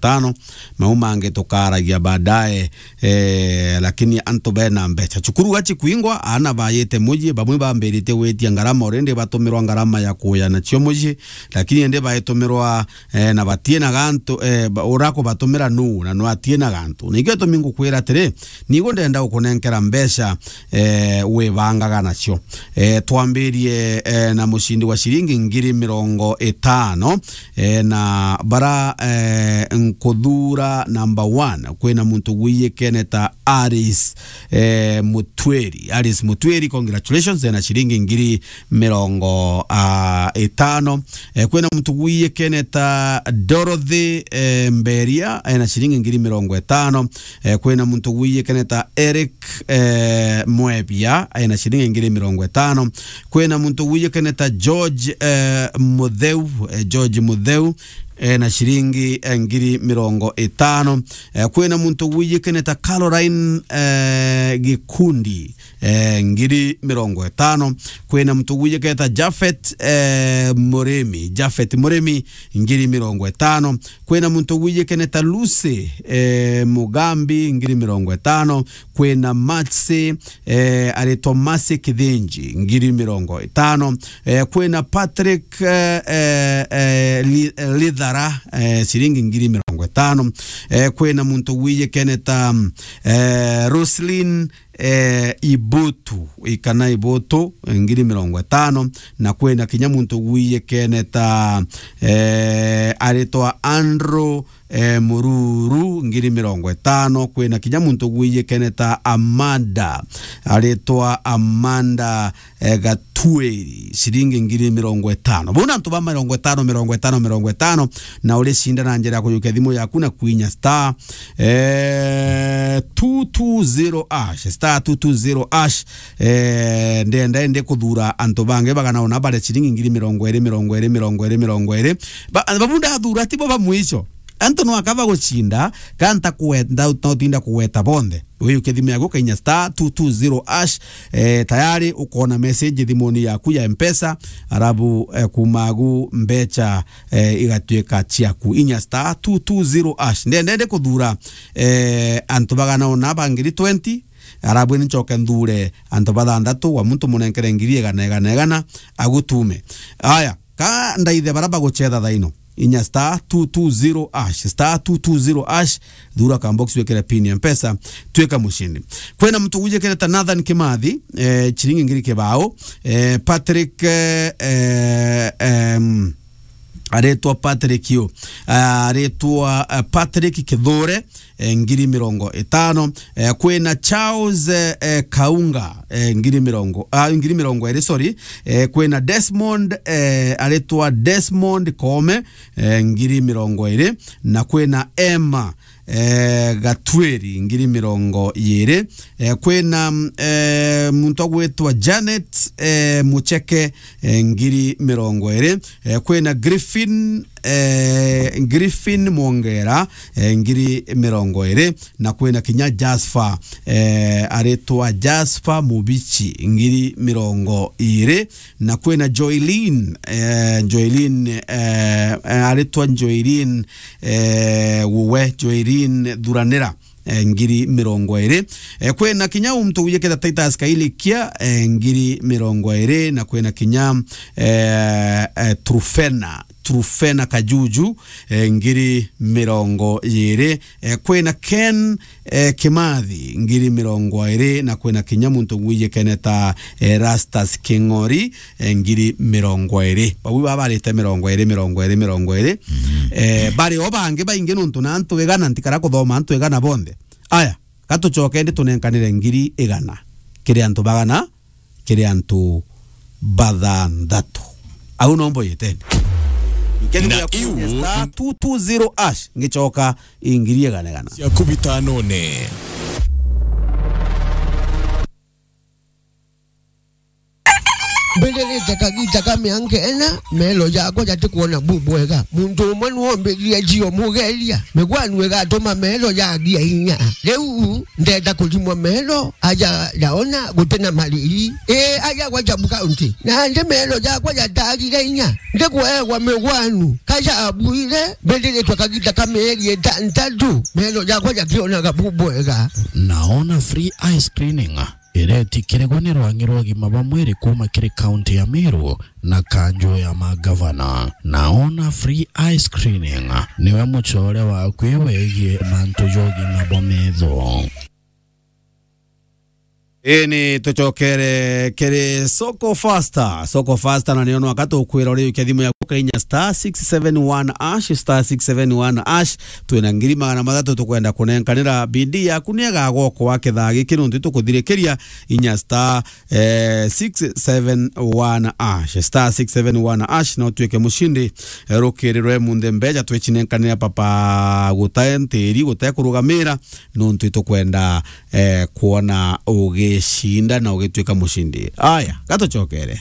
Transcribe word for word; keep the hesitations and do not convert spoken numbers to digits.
tano. Mau mangi tukaragia baadaye, eh, lakini antu bena mbeca. Cukuru aci kwingwa, aana bayite muji, bamwe bambiritie gwitia ngarama already, batumirwa ngarama ya kuya nacio muji, lakini indi baitumirwa, eh, na batie na gantu, eh, ba-, ura kubatumira nu, na nu atie na gantu. Na ikio gitumi ngukwira atiri, nigo ndenda gukunenkera mbeca, eh, wibangaga nacio. Eh, twambirie, eh, na mucindi wa ciringi ngiri mirongo itano, eh, na bara, eh, nkuthura number one, kwina muntu gwiyikene ta Alice, eh, Mutweri. Alice Mutweri, congratulations, ena ciringi ngiri mirongo, ah, itano. Eh, kwina muntu gwiyikene ta Dorothy, eh, Mberia, ena ciringi ngiri mirongo itano. Eh, kwina muntu gwiyikene ta Eric, eh, Mwebia, ena ciringi ngiri mirongo itano. Kwina muntu gwiyikene ta George, eh, Mutheu, eh, George Mutheu, ena ciringi, eh, ngiri mirongo itano. Eh, kwina muntu gwiyikene ta Caroline, eh, Gikundi, eh, ngiri mirongo itano. Kwina muntu gwiyikene ta Japhet, eh, Murimi, Japhet Murimi, ngiri mirongo itano. Kwina muntu gwiyikene ta Lucy, eh, Mugambi, ngiri mirongo itano. Kwina Maxi, eh, aritwa Maxi Kithinji, ngiri mirongo itano. Eh, kwina Patrick, eh, eh, eh, Li-, eh, Lithara, eh, ciringi ngiri mirongo itano. Eh, kwina muntu gwiyikene ta, eh, Roslyn, eh, Ibutu, ikana Ibutu, eh, ngiri mirongo itano. Na kwina kinya muntu gwiyikene ta, eh, aritwa Andrew, eh, Mururu, ngiri mirongo itano. Kwina kinya muntu gwiyikene ta Amanda, aritwa Amanda, eh, Gatweri, ciringi ngiri mirongo itano. Bau ni antu ba mirongo itano, mirongo itano, mirongo itano, na uricinda na njira ya kujukia thimu yaku na kwinya star, eh, two two zero hash, star two two zero hash. Eh, ndenda indi kuthura antu bangi bagana una baria ciringi ngiri mirongo iri, mirongo iri, mirongo iri, mirongo iri. Ba-, babu ndathura tibo ba mwisho. Antu no akaba gucinda, ka nta kuwe-, nda-, nta utinda kugweta bonthe. Wiyukie thimu yaku, kainya star two two zero hash, eh, tayari ukona message thimuni yaku ya Mpesa, arabu, eh, kuma agu mbecha, eh, igatuika ciaku. Inya star two two zero hash. Ndenda indi kuthura, eh, antu bagana una ba ngiri twenty, arabu ni ncoke nthure antu bathanthatu, wa muntu munenkere ngiri igana, igana, igana, agutume. Aya, ka ndaithe bara bagucetha thaino. Inya star two two zero hash, star two two zero hash, thura ka box wekere pin ya Mpesa, twika mushindi. Kwina muntu wijikireta Nathan Kimathi, eh, chiringi ngiri kibao, eh, Patrick, eh, eh, em, aretwa Patrick yo, ah, aretwa, eh, Patrick Kithure, eh, ngiri mirongo itano. Eh, kwina Charles, eh, eh, Kaunga, eh, ngiri mirongo, ah, ngiri mirongo iri, sorry. Eh, kwina Desmond, eh, aretwa Desmond Koome, eh, ngiri mirongo iri, na kwina Emma, eh, Gatweri, ngiri mirongo iri. Eh, kwina, eh, muntu agwitwa Janet, eh, Mucheke, eh, ngiri mirongo iri. Eh, kwina Griffin, eh, Griffin Mwongera, eh, ngiri mirongo iri, na kwina kinya Jasper, eh, aritwa Jasper Mubichi, ngiri mirongo iri, na kwina Joylin, eh, Joylin, eh, eh, aritwa Joylin, eh, Wuwe, Joylin Thuranira, eh, ngiri mirongo iri. Eh, kwina kinya untu wijiketa Titus Kailikia, eh, ngiri mirongo iri, na kwina kinya, eh, eh, Trufena, Trufena Kajuju, eh, ngiri mirongo iri. Eh, kwina Ken, eh, Kimathi, ngiri mirongo iri, na kwina kinya muntu wijikene ta, eh, Rastus King'ori, eh, ngiri mirongo iri. Bau babarite mirongo iri, mirongo iri, mirongo iri. Eh, bari o bangi baingi nontu na antu igana, ntikara kuthoma antu igana bonthe. Aya, ka tucoke ndi tunenkanire ngiri igana kiri antu bagana, kiri antu bathanthatu. Au no mboyeteni. Ikethira na iu star two two zero hash, ngicoka ingiri igana igana. Ciaku bitanone. Mbithirite kagiita ka mianka ina, meelo jakwa jatikwona bubwega. Muntu umwe nwombithie jio mugeria. Migwanu igatuma meelo jagia inya. Riu ndenda kurimwa meelo aja jaona guti na mariri. Ii, aja gwa Jabu County. Nandi meelo jakwa jatagire inya. Ndikweegwa migwanu. Ka jabuire, mbithiritwe kagiita ka mieri itantatu. Meelo jakwa jakionaga bubwega. Naona free eye screening iretikirigwa ni rwang'i rwa ugima bwa mwiri kuuma kiri kaunti ya Meru na kanju ya magavana. Naona free eye screening niwe mucore waku wegie mantu ja ugima bwa metho. Ii, ni tucokere kiri Soko Faster. Soko Faster, na nio nwaka tukwira uriukia thimu yaku kainya star six seven one ash, star six seven one ash. Twina ngiri magana mathatu tukwenda kunenkanira. Bidii yaku ni egagokwa kithaa giki nontu tukuthirikiria inya star, eh, six seven one ash, star six seven one ash, na utuike mucindi, eh, rukiri rwe munthe mbeja twichinenkanira papa gutae ntiri, gutae kurugamira, nontu itukwenda, eh, kwona ugicinda na ugituika mucindi. Aya, gatucokere.